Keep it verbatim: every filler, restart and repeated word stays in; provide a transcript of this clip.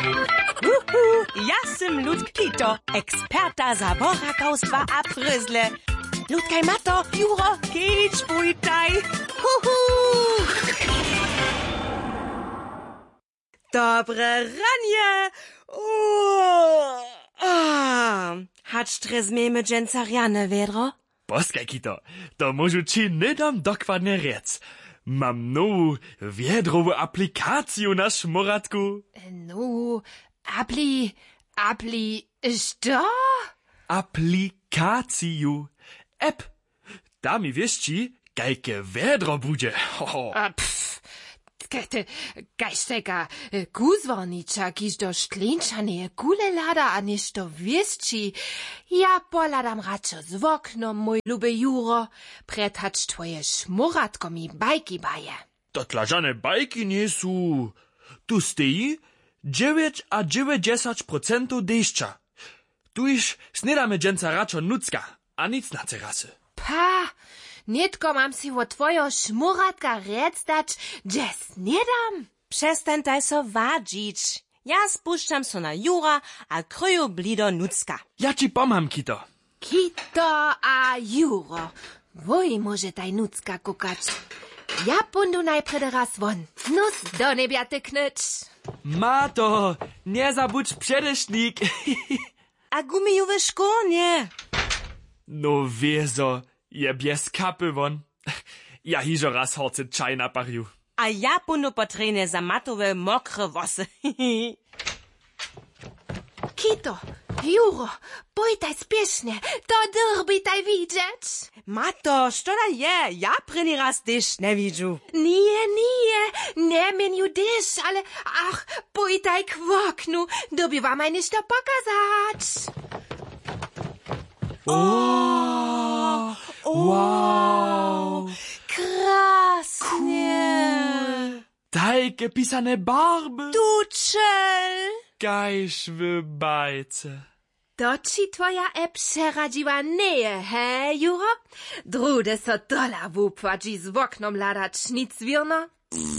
Uhu, ja sym Ludk Pito, eksperta za borakawstwa a prysle. Ludkaj, Mato, Juro, kedź, pójtaj. Uhu. Dobre ranje. Uhu. Hač drje změjemy dźensa rjane wjedro? Poskaj, Kito, to móžu ći hnydom dokładnje rjec. Mam nowu wjedrowu aplikaciju na šmóratku. Nowu apli apli što? Aplikaciju, app. Ta mi wěsći, kajke wjedro budźe. Hoho. A pff, kaj te, kaž tajka kuzłarniča, kiž do škleńčaneje kule hlada a něšto wěsći. Ja pohladam radšo z woknom, mój luby Juro, prjed hač twoje šmóratko mi bajki baje. To dla žane bajki njejsu. Tu steji dźewjećadźewjećdźesać procentow dešća. Tuž snědamy dźensa radšo nutřka a nic na terasy. Pa, nětko mam sej wot twojeho šmóratka rjec dać, hdźe snědam. Přestańtaj so wadźić. Ja spušćam so na Jura a kryju blido nutřka. Ja ći pomham, Kito. Kito a Juro, wój móžetaj nutřka kukać. Ja póńdu najprjedy raz won. Nós do njebja tyknyć. Mato, njezabudź předešnik. A gumijowe škórnje. No wězo, je bjez kapy won. Ja hižo raz horcy čaj naparju. A ja póńdu po trjenje za Matowe mokre włosy. Kito, Juro, pójtaj spěšnje, to dyrbitaj widźeć. Mato, što da je? Ja prěni raz tež njewidźu. Nije, nije, njeměnju tež, ale ach, pójtaj k woknu, dyrbi wamaj něšto pokazać. O, o, wow. Krasnje. Tajke pisane barby. Tučel. Kaž w bajce. To ći twoja app přeradźiła njeje, he, Juro? Druhdy so tola wupłaći z woknom hladać, nic wěrno?